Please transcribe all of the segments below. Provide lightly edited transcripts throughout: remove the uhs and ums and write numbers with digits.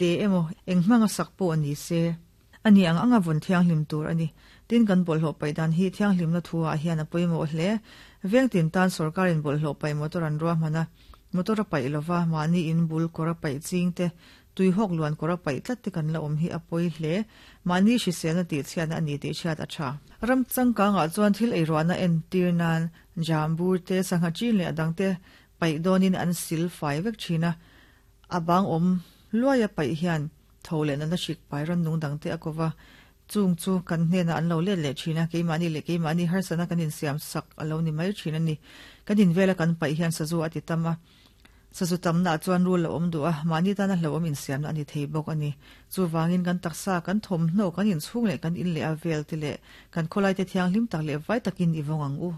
Te emaw, eng hmanga sak pawh ni se, a ni ang anga vawn thianghlim tur a ni. Tin, kan bawlhhlawh paih dan hi thianghlimna thu ah hian a pawimawh hle. Veng tin tan sorkarin bawlhhlawh paih motor an ruahman a, motor a paih lova, mahni in bul kawr a paih ching te, tuihawk luan kawr a paih tlat te kan la awm hi a pawi hle. Mahni hriselna tihchhiatna a ni tih hriat a tha. Ram changkangah chuan thil eiruahna entir nan jambur te, sangha chin leh a dangte paih dawnin an sil fai vek thin a, A bang awm luai a paih hian tho leh nana hrik pai rannung dangte a ko va, chung chu kan hnenah an lo let leh thin a, keimahni leh keimahni harsatna kan insiam sak a lo ni mai thin a ni. Kan invela kan paih hian sazu a ti tam a, sazu tamnaah chuan rul a awm duh a, mahni tana hlauhawm insiamna a ni thei bawk a ni. Chuvangin kan taksa, kan thawmhnaw, kan inchhung leh kan in leh a vel te leh kan khawlaite thianghlim tak leh vai takin i vawng ang u.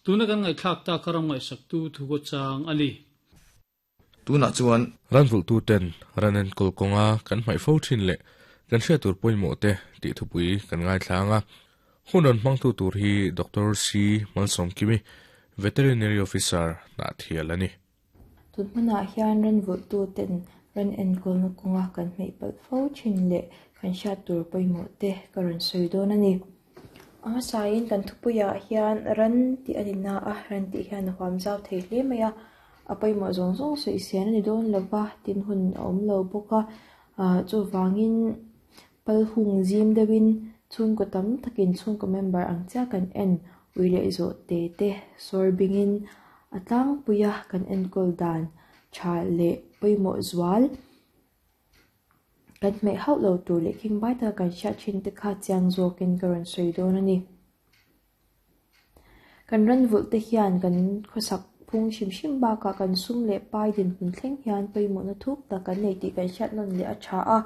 Tuna kan ngaihthlak tak a ram ngaihsaktu thu kaw chang a ni. Tunah chuan Ranvulhtuten ran enkawl kawnga kan hmaih fo thin leh kan hriat tur pawimawh te tih thupui kan ngaithlang a. Hun rawn hmangtu tur hi Doctor C. Malsawmkimi, Veterinary Officer Hnahthial a ni. Tun hmanah hian ranvulhtuten ran enkawlna kawnga kan hmaih palh fo thin leh kan hriat tur pawimawh te ka rawn sawi dawn a ni. A hmasain kan thupuiah hian ran tih a ni na a, ran tih hian a huam zau thei hle mai a. A pawimawh zawng zawng sawi sian a ni dawn lo va, tin hun a awm lo bawk a, ah chuvangin pal hung zim deuhin chhungkaw tam takin chhungkaw member ang chiah kan en ui leh zawh te te sawr bingin a tlangpuia kan enkawl dan tha leh pawimawh zual. Kan hmeh hauh lo tur leh khingbai taka kan hriat thin te kha chiang zawkin ka rawn sawi dawn a ni. Kan ran vulh te hian kan khawsak phung hrim hrim bakah kan sum leh pai dinhmun thleng hian pawimawhna thuk tak kan nei tih kan hriat nawn leh a tha a.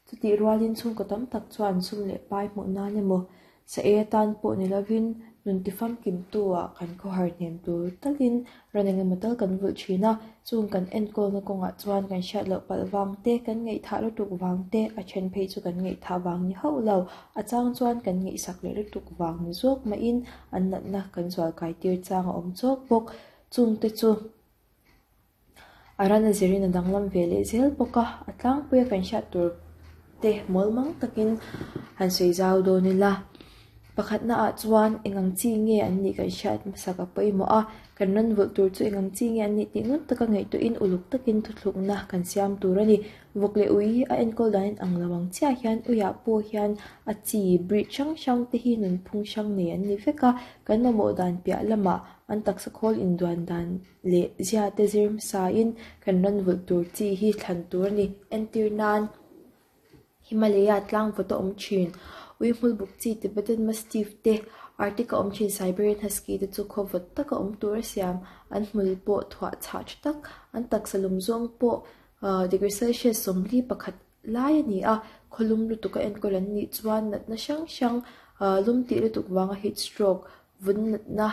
Chutih rualin chhungkaw tam tak chuan sum leh pai hmuh nan emaw Sa ei atan pawh ni lovin nun tifamkimtu-ah kan khawhar hnem tur talin ran engemaw tal kan vulh thin a, chung kan enkawlna kawngah chuan kan hriat loh palh vang te, kan ngaihthah lutuk vang te, a then phei chu kan ngaihthah vang ni hauh lo, a chang chuan kan ngaihsak leh lutuk vang ni zawk mahin an natna kan zualkai tir chang a awm chawk bawk. Chungte chu a ran a zirin a danglam ve leh zel bawk a, a tlangpuia kan hriat tur te mawlmang takin han sawi zau dawn ila. Pakhatna ah chuan eng ang chi nge an nih kan hriat hmasak a pawimawh a, kan ran vulh tur chu eng ang chi nge an nih tih ngun taka ngaihtuahin uluk takin thuthlukna kan siam tur a ni. Vawk leh ui a enkawl dan in ang lo ang chiah hian uiah pawh hian a chi breed hrang hrang te hi nunphung hrang nei an ni vek a, kan mamawh dan piah lamah an taksa khawl induan dan leh zia te zir hmasain kan ran vulh tur chi hi thlan tur a ni. Entir nan Himalaya tlang vawt a awm thin. Ui hmul buk chi Tibetan Mastiff te, Arctic a awm thin Siberian Husky te chu khaw vawt taka awm tur a siam. An hmul pawh thuah chhah tha tak, an taksa lum zawng pawh degree Celsius 41 lai a ni a. Khawlum lutuk a enkawl an nih chuan natna hrang hrang lum tih lutuk vanga heat stroke, vun natna,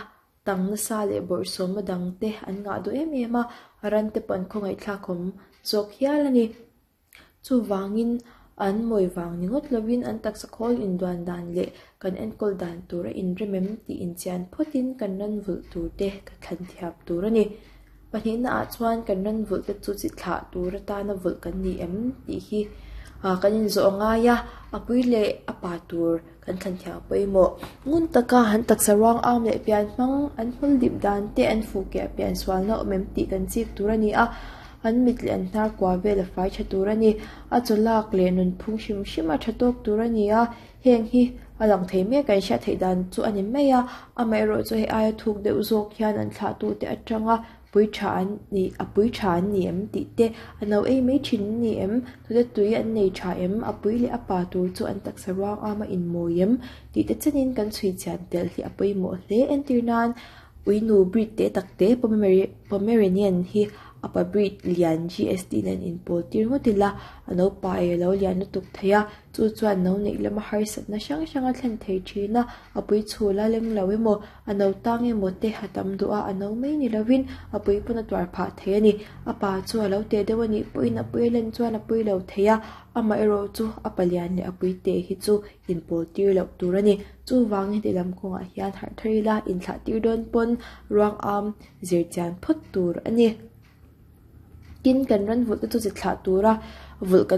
Tang nasa leh bawrhsawmna dang te an ngah duh em em a, ran te pawh an khawngaihthlak awm zawk hial a ni. Chuvangin an mawi vang ni ngawt lovin an taksa khawl induan dan leh kan enkawl dan tur a inrem em tih inchian phawtin kan ran vulh tur te ka thlan thiam tur a ni. Pahnihna ah chuan kan ran vulh te chu chi thlah tur atana vulh kan ni em tih hi kan inzawh a ngai a, a pui leh a pa tur kan thlan thiam pawimawh. Ngun taka an taksa ruang am leh pian hmang an hmul dip dan te an fuh keh pian sualna awm em tih kan chik tur a ni a, an mit leh an hnar kua vel a fai tha tur a ni. A chaw lak leh nunphung hrim hrim a tha tawk tur a ni a, heng hi a lang thei mek kan hriat theih dan chu a ni mai a, amaherawhchu hei aia thuk deuh zawk hian an thlahtute atanga pui tha an ni a pui tha an ni em tih te a no ei mai thin an ni em tute tui an nei tha em a pui leh a pa tur chu an taksa ruang ama inmawi em tih te chenin kan chhui chian tel hi a pawimawh hle entir nan uinu breed te tak te Pomeranian hi a pa breed lian GST nen inpawl tir ngawt ila a no pa ei a lo lian lutuk thei a. Chu chuan no neih lama harsatna hrang hrang a thlen thei thin a, a pui chhul a leng lo emaw, a no tang emaw te a tam duh a, a no mai ni lovin a pui pawn a tuar phah thei a ni. A pa chu a lo teh deuh a nih pawhin a pui a len chuan a pui lo thei a, amaherawh chu a palian leh a pui teh hi chu inpawl tir loh tur a ni. Chuvangin ti lam kawngah hian harh thar ila inthlah tir dawn pawn ruang am zir chian phawt tur a ni. Tin kan ran vulh te chu chi thlah tura vulh kan ni.